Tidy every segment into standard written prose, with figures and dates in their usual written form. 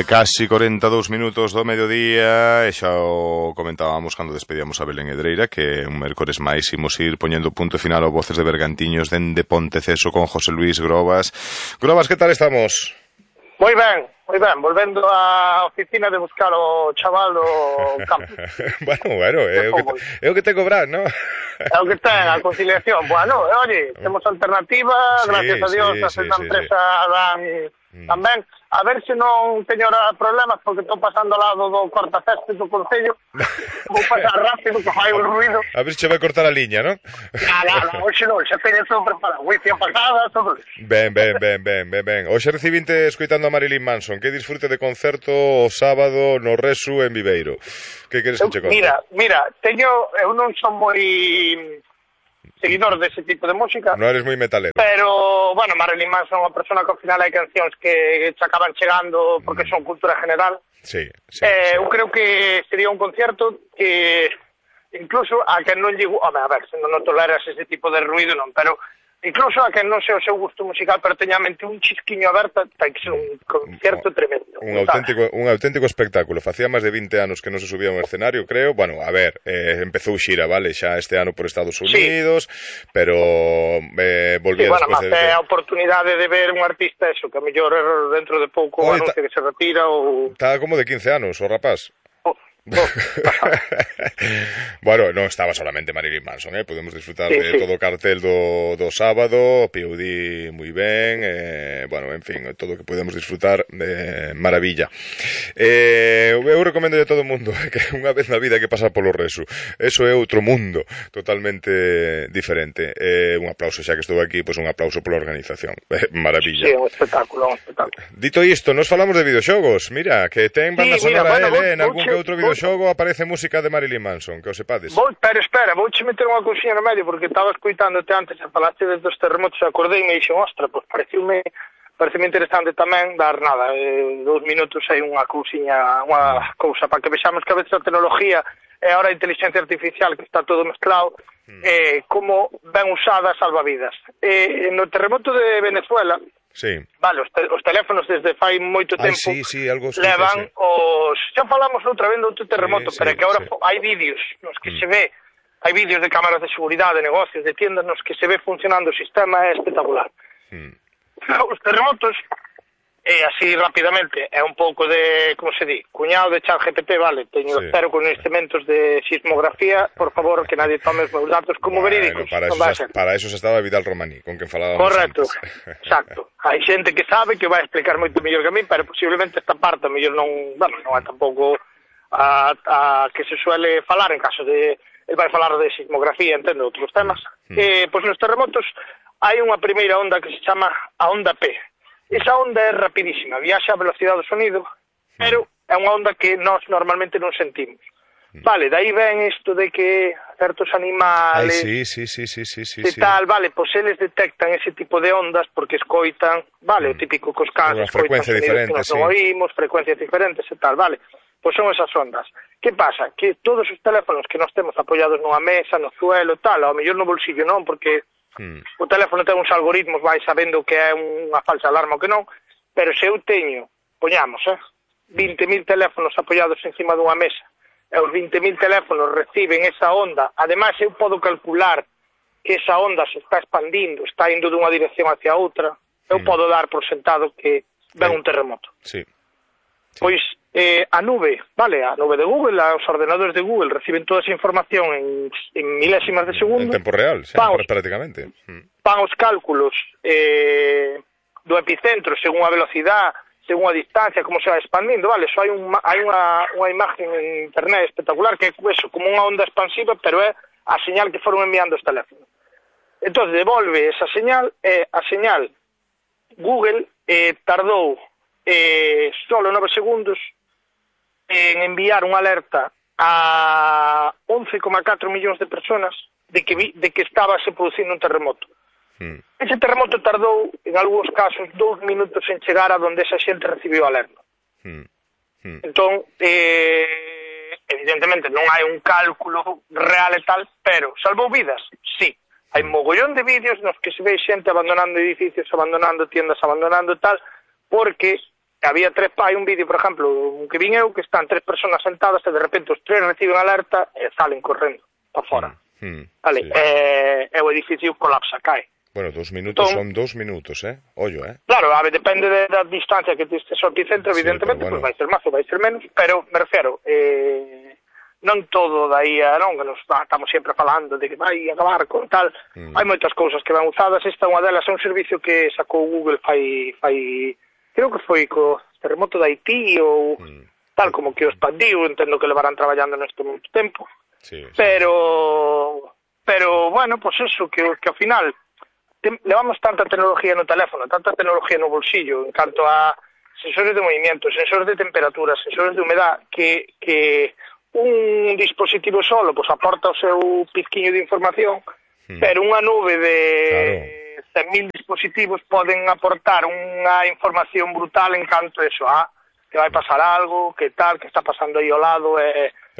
Casi 42 minutos do mediodía e xa o comentábamos cando despedíamos a Belén Hedreira que un mércores máis imos ir poñendo punto final ao Voces de Bergantiños dende Ponteceso con José Luis Grobas. Grobas, que tal estamos? Moi ben, volvendo á oficina de buscar o chaval do campo. bueno, é o que te cobrar, non? É o que ten, a conciliación. Bueno, oye, temos alternativa, sí, gracias a Dios, a esta empresa tamén. A ver se non teño problemas porque estou pasando ao lado do cortacésped do Concello. Vou pasar rápido que fai un ruido. A ver se vai cortar a liña, non? Nada, hoxe non, xa teño todo preparado. Wifi apagada, todo. Ben. Hoxe recibinte escoitando a Marilyn Manson. Que disfrute de concerto o sábado no Resu en Viveiro. Que queres que che conte? Mira, eu non son moi seguidor dese tipo de música. Non eres moi metalero. Pero, bueno, Marilyn Manson é unha persona que ao final hai cancións que se acaban chegando porque son cultura general. Sí. Eu creo que sería un concierto que incluso a que non llego... Home, a ver, se non toleras ese tipo de ruido, non, pero incluso a que non sea o seu gusto musical, pero teña a mente un chisquiño aberta, ten que ser un concierto tremendo. Un auténtico espectáculo. Facía máis de 20 anos que non se subía a un escenario, creo. Bueno, a ver, empezou xira, vale, xa este ano por Estados Unidos, sí. Pero volvía sí, bueno, despois de... a oportunidade de ver un artista, eso, que a mellor dentro de pouco anuncia que se retira ou... Está como de 15 anos, o rapaz. Bueno, non estaba solamente Marilyn Manson, podemos disfrutar de todo o cartel do sábado, P.O.D. moi ben, bueno, en fin, todo o que podemos disfrutar maravilla. Eu recomendo a todo o mundo que unha vez na vida que pasar polo Resu, eso é outro mundo totalmente diferente. Un aplauso xa que estou aquí, pois un aplauso pola organización, maravilla. Sí, un espectáculo. Dito isto, nos falamos de videoxogos, mira, que ten banda sonora en algún que outro videoxogo aparece música de Marilyn Manson, que o sepades. Pero espera, vouche meter unha cousiña no medio, porque estaba escoitándote antes e falaste desde os terremotos, acordei e me dixen, ostra, pois pareceume interesante tamén dar nada, 2 minutos hai unha cousiña, unha cousa, para que vexamos que a veces a tecnología e ahora a inteligencia artificial, que está todo mezclado, como ben usada salva vidas. No terremoto de Venezuela, sí. Vale, os teléfonos desde fai moito tempo algo levan os... Xa falamos outra vez do outro terremoto, pero é que agora hai vídeos nos que se ve, hai vídeos de cámaras de seguridade, de negocios, de tiendas nos que se ve funcionando o sistema, é espectacular. Os terremotos, así rapidamente, é un pouco de, como se di, cuñado de ChatGPT, vale, teño cero conhecementos de sismografía, por favor, que nadie tome os meus datos como verídicos. Para eso se estaba Vidal Romaní, con quen falábamos. Correcto, exacto. Hai xente que sabe que vai explicar moito mellor que a mí, pero posiblemente esta parte mellor non é tampouco a que se suele falar en caso de... El vai falar de sismografía, entende, outros temas. Pois nos terremotos hai unha primeira onda que se chama a onda P. Esa onda é rapidísima, viaxa a velocidade do sonido, pero é unha onda que nós normalmente non sentimos. Vale, dai ven isto de que certos animales tal, vale, pois eles detectan ese tipo de ondas porque escoitan, vale, o típico que os cans escoitan sonidos que nos non oímos, frecuencias diferentes e tal, vale, pois son esas ondas. Que pasa? Que todos os teléfonos que nos temos apoiados nunha mesa, no suelo, tal, ao mellor no bolsillo non, porque o teléfono ten uns algoritmos, vai sabendo que é unha falsa alarma ou que non, pero se eu teño, poñamos, 20.000 teléfonos apoiados encima dunha mesa, e os 20.000 teléfonos reciben esa onda, ademais eu podo calcular que esa onda se está expandindo, está indo dunha dirección hacia outra, eu podo dar por sentado que ven un terremoto. Sí. Pois a nube, vale, a nube de Google, os ordenadores de Google reciben toda esa información en milésimas de segundo. En tempo real, prácticamente. Van os cálculos do epicentro según a velocidade, según a distancia, como se va expandindo, vale, hai unha imagen en internet espectacular que é eso, como unha onda expansiva, pero é a señal que foron enviando os teléfonos. Entón, devolve esa señal, a señal Google tardou solo 9 segundos en enviar unha alerta a 11,4 millóns de personas de que estaba se producindo un terremoto. Ese terremoto tardou, en algúns casos, 2 minutos en chegar a donde esa xente recibiu a alerta. Entón, evidentemente non hai un cálculo real e tal, pero salvou vidas, sí. Hai mogollón de vídeos nos que se ve xente abandonando edificios, abandonando tiendas, abandonando tal, porque había hai un vídeo, por exemplo, que vin eu, que están 3 personas sentadas e de repente os 3 reciben alerta e salen correndo para fora. Vale, sí. E o edificio colapsa, cae. Bueno, 2 minutos entón, son 2 minutos, Ollo, Claro, depende da distancia que estes ao epicentro, evidentemente, bueno, vai ser máis ou vai ser menos, pero me refiero, non todo daí non, que nos estamos sempre falando de que vai acabar con tal, hai moitas cousas que van usadas, esta unha delas é un servicio que sacou Google fai creo que foi co terremoto de Haití ou tal, como que o expandiu, entendo que levarán traballando neste moito tempo, pero bueno, pues eso, que ao final levamos tanta tecnología no teléfono, tanta tecnología no bolsillo, en canto a sensores de movimiento, sensores de temperatura, sensores de humedad, que un dispositivo solo pues aporta o seu pizquiño de información, pero unha nube de 100.000 dispositivos poden aportar unha información brutal en canto a eso, que vai pasar algo, que tal, que está pasando aí ao lado,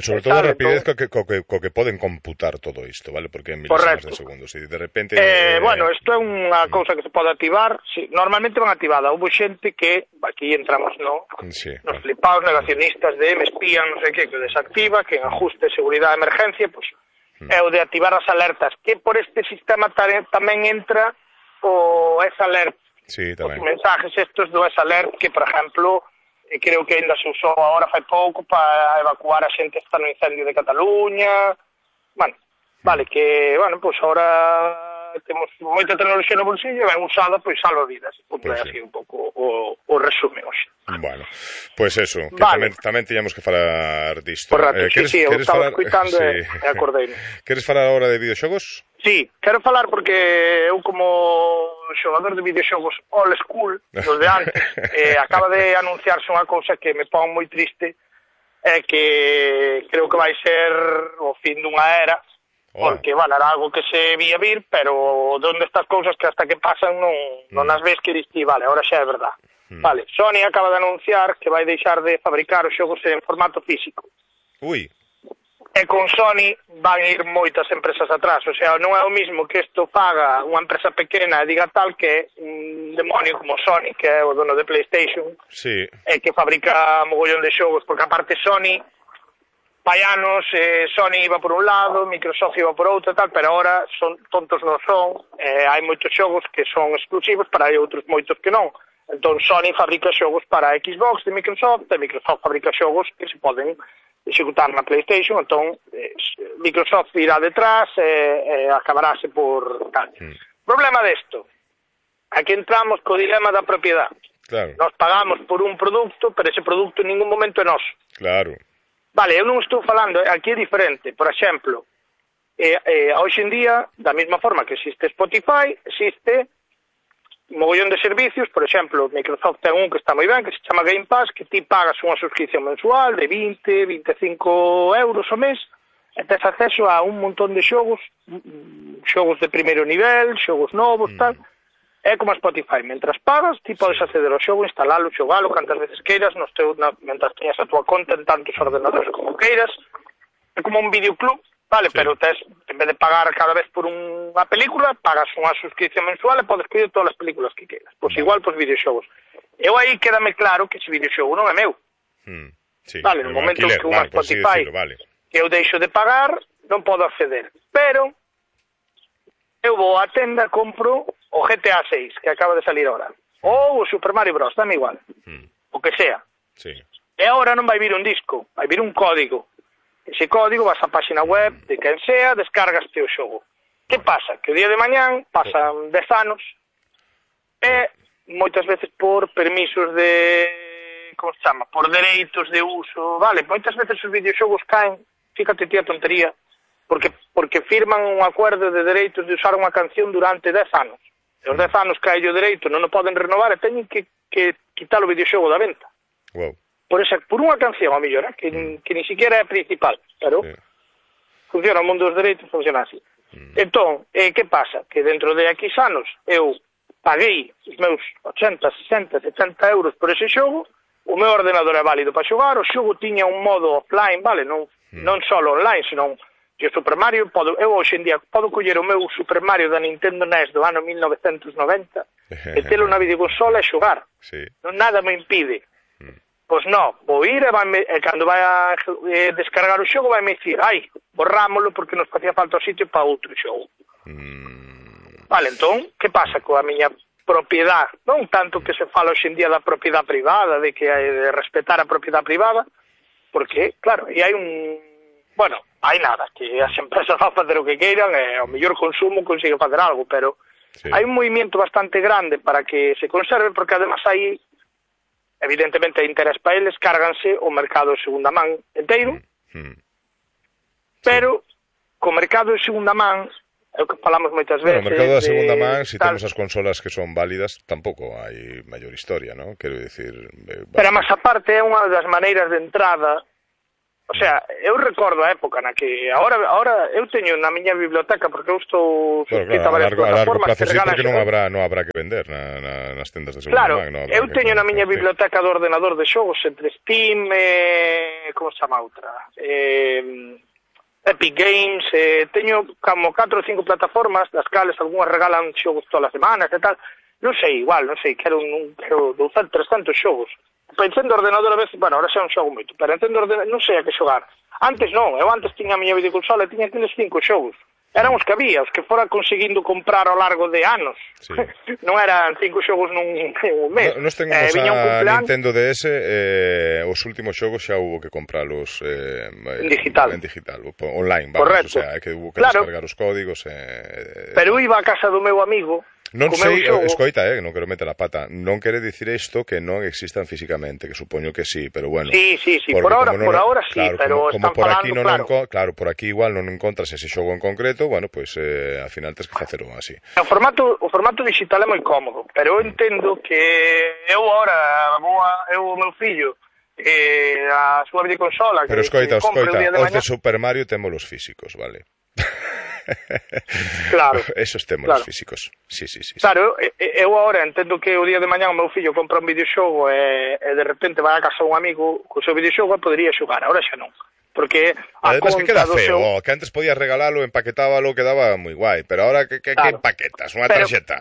sobre todo a rapidez co que poden computar todo isto, vale? Porque en milésimas de segundos, e de repente... Bueno, isto é unha cousa que se pode activar, sí, normalmente van activada, houve xente que, aquí entramos nos flipados negacionistas de me espían, non sei que desactiva, que en ajuste de seguridade de emergencia, pues, é o de activar as alertas, que por este sistema tamén entra o S-Alert, os mensajes estos do S-Alert, que, por exemplo... creo que ainda se usou agora fai pouco para evacuar a xente que está no incendio de Cataluña. Bueno, vale, que, bueno, pues ahora temos moita tecnoloxía no bolsillo e ben usada, pois salva vidas. Pues así un pouco o resumen hoxe. Bueno, pois eso, que tamén tiñamos que falar disto. Sí, eu estaba escuitando e acordeime. Queres falar agora de videoxogos? Sí, quero falar porque eu como xogador de videoxogos old school, dos de antes, acaba de anunciarse unha cousa que me pon moi triste, que creo que vai ser o fin dunha era, porque, bueno, era algo que se vía vir, pero donde estas cousas que hasta que pasan non as ves que diste, vale, ahora xa é verdad. Vale, Sony acaba de anunciar que vai deixar de fabricar os xogos en formato físico. Ui. E con Sony van ir moitas empresas atrás, o sea, non é o mismo que isto faga unha empresa pequena e diga tal que un demonio como Sony, que é o dono de PlayStation, e que fabrica mogollón de xogos, porque aparte Sony, fai anos, Sony iba por un lado, Microsoft iba por outro tal, pero ahora son tontos non son, hai moitos xogos que son exclusivos, para hai outros moitos que non. Entón Sony fabrica xogos para Xbox de Microsoft, e Microsoft fabrica xogos que se poden executar na PlayStation, entón Microsoft irá detrás e acabaráse por tal. Problema desto, aquí entramos co dilema da propiedade. Claro. Nos pagamos por un produto, pero ese produto en ningún momento é noso. Claro. Vale, eu non estou falando, aquí é diferente. Por exemplo, hoxe en día, da mesma forma que existe Spotify, existe mogollón de servicios, por exemplo, Microsoft ten un que está moi ben, que se chama Game Pass, que ti pagas unha suscripción mensual de 20, 25 euros ao mes, e tes acceso a un montón de xogos de primeiro nivel, xogos novos, tal, é como a Spotify. Mentras pagas, ti podes acceder ao xogo, instalalo, xogalo, cantas veces queiras, mentras teñas a tua conta en tantos ordenadores como queiras, é como un videoclub, vale, pero tes, en vez de pagar cada vez por unha película, pagas unha suscripción mensual e podes pedir todas as películas que queiras. Pois igual pos videoxogos. Eu aí quédame claro que ese videoxogo non é meu. Vale, no momento que unha Spotify que eu deixo de pagar, non podo acceder. Pero eu vou á tenda, compro o GTA 6, que acaba de salir ahora. Ou o Super Mario Bros, dame igual. O que sea. E agora non vai vir un disco, vai vir un código. Ese código vas á página web de quen sea, descargaste o xogo. Que pasa? Que o día de mañán pasan 10 anos e moitas veces por permisos de, como se chama, por dereitos de uso, vale, moitas veces os videoxogos caen, fíjate ti a tontería, porque firman un acuerdo de dereitos de usar unha canción durante 10 anos. E os 10 anos cae o dereito, non o poden renovar e teñen que quitar o videoxogo da venta. Por unha canción, a mellor, que ni siquiera é principal, pero funciona o mundo dos dereitos, funciona así. Entón, que pasa? Que dentro de X anos eu paguei os meus 80, 60, 70 euros por ese xogo, o meu ordenador é válido para xogar, o xogo tiña un modo offline, vale, non só online, senón E o Super Mario, eu hoxe en día podo coller o meu Super Mario da Nintendo NES do ano 1990 e telo na videoconsola e xogar. Sí. Non nada me impide. Pois non, vou ir e cando vai a descargar o xogo vai me dicir, borrámolo porque nos facía falta o sitio para outro xogo. Vale, entón, que pasa coa miña propiedade? Non tanto que se fala hoxe en día da propiedade privada, de que hai de respetar a propiedade privada, porque, claro, e hai hai nada, que as empresas van facer o que queiran e ao mellor consumo consigue facer algo, pero hai un movimento bastante grande para que se conserve, porque además hai, evidentemente, interés para eles, cárganse o mercado de segunda man inteiro, pero co mercado de segunda man, é o que falamos moitas veces... O mercado da segunda man, se temos as consolas que son válidas, tampouco hai maior historia, non? Quero dicir... Pero, máis aparte, é unha das maneiras de entrada. O sea, eu recordo a época na que ahora eu teño na miña biblioteca, porque eu estou suscrito a varias plataformas que regalan... Porque non habrá que vender nas tendas de segunda man. Claro, eu teño na miña biblioteca do ordenador de xogos entre Steam e... como se chama outra? Epic Games, teño como 4 ou 5 plataformas, das cales algunhas regalan xogos todas as semanas e tal. Non sei, quero 200, 300 xogos. Pensando ordenador a veces, ahora xa non xogo moito, pero entendo ordenador, non sei a que xogar. Antes non, eu antes tiña a miña videoconsola e tiña aqueles 5 xogos. Eran os que había, os que fora conseguindo comprar ao largo de anos. Sí. Non eran 5 xogos nun mes. Nos temos a Nintendo DS, os últimos xogos xa hubo que compralos en digital, online, vamos. Correcto. O sea, que hubo que descargar os códigos. Pero iba a casa do meu amigo. Non sei, escoita, non quero meter a pata, non quere dicir isto que non existan físicamente, que supoño que sí, pero bueno. Sí, por ahora sí, pero están falando, claro, por aquí igual non encontras ese xogo en concreto, bueno, pois ao final tens que facelo así. O formato digital é moi cómodo, pero eu entendo que eu agora o meu fillo a súa videoconsola, pero escoita, os de Super Mario temos os físicos, vale? Claro. Esos temos os físicos. Sí. Claro, eu agora entendo que o día de mañá o meu fillo compra un videoxogo e de repente vai a casa un amigo co seu videoxogo e podería xogar, agora xa non. Porque además que queda feo, que antes podías regalalo, empaquetábalo, quedaba moi guai, pero ahora que empaquetas, unha tarxeta.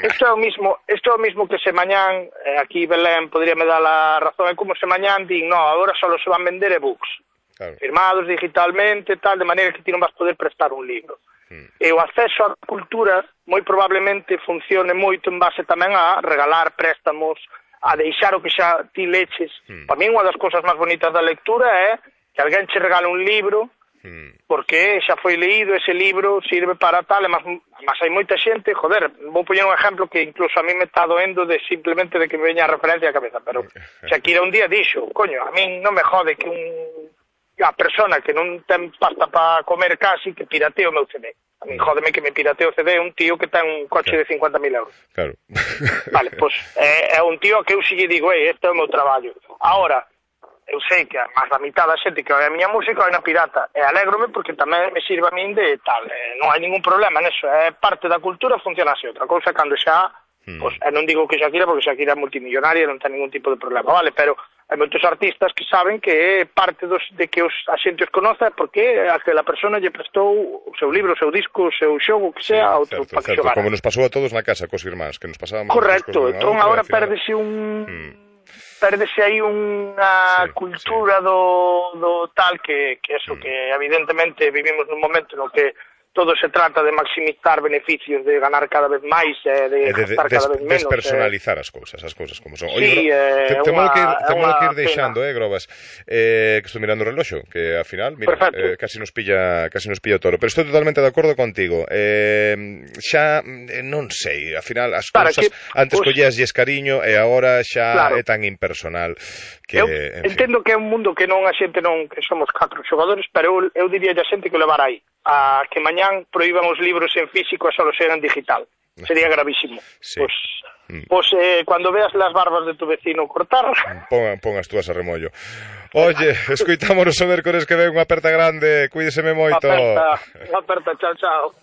Isto é o mismo que se mañán, aquí Belén podríame dar a razón, é como se mañán din, agora só se van vender e-books. Claro. Firmados digitalmente, tal, de maneira que ti non vas poder prestar un libro. E o acceso á cultura moi probablemente funcione moito en base tamén a regalar préstamos, a deixar o que xa ti leches. Para mí unha das cousas máis bonitas da lectura é que alguén che regala un libro porque xa foi leído, ese libro sirve para tal, mas hai moita xente, vou poñer un exemplo que incluso a mí me está doendo de simplemente de que me veña a referencia a cabeza, pero Shakira un día dixo, a mí non me jode que a persona que non ten pasta para comer casi, que piratee o meu CD. A mí jódeme que me piratee o CD un tío que ten un coche de 50.000 euros. Claro. Vale, pois é un tío que eu si lle digo, este é o meu traballo. Ahora, eu sei que máis da mitad da xente que oi a miña música oi na pirata, e alégrome porque tamén me sirve a min de tal, non hai ningún problema neso, é parte da cultura, funciona así. Outra cousa cando xa, non digo que Shakira, porque Shakira é multimillonaria, non ten ningún tipo de problema, vale, pero hai moitos artistas que saben que parte de que a xente os conoce porque aquela persona lle prestou o seu libro, o seu disco, o seu xogo, que sea, a outro para que xogara. Como nos pasou a todos na casa cos irmáns, que nos pasábamos... Correcto, entón agora perdese aí unha cultura do tal que eso, que evidentemente vivimos nun momento no que todo se trata de maximizar beneficios, de ganar cada vez máis, de gastar cada vez menos. Despersonalizar as cousas como son. Sí, temos que ir deixando, Grobas, que estou mirando o reloxo, que ao final, mira, casi nos pilla o toro. Pero estou totalmente de acordo contigo. Xa, non sei, ao final, as cousas, antes collíaslles cariño e agora xa é tan impersonal que... Eu entendo que é un mundo que non a xente non, que somos 4 xogadores, pero eu diría a xente que o levar aí. A que mañán proíban os libros en físico e só los eran digital. Sería gravísimo. Sí. Pues cuando veas las barbas de tu vecino cortar... Pon as túas a remollo. Oye, escoitámonos o mércores que ven, unha aperta grande, cuídeseme moito. Unha aperta, chao.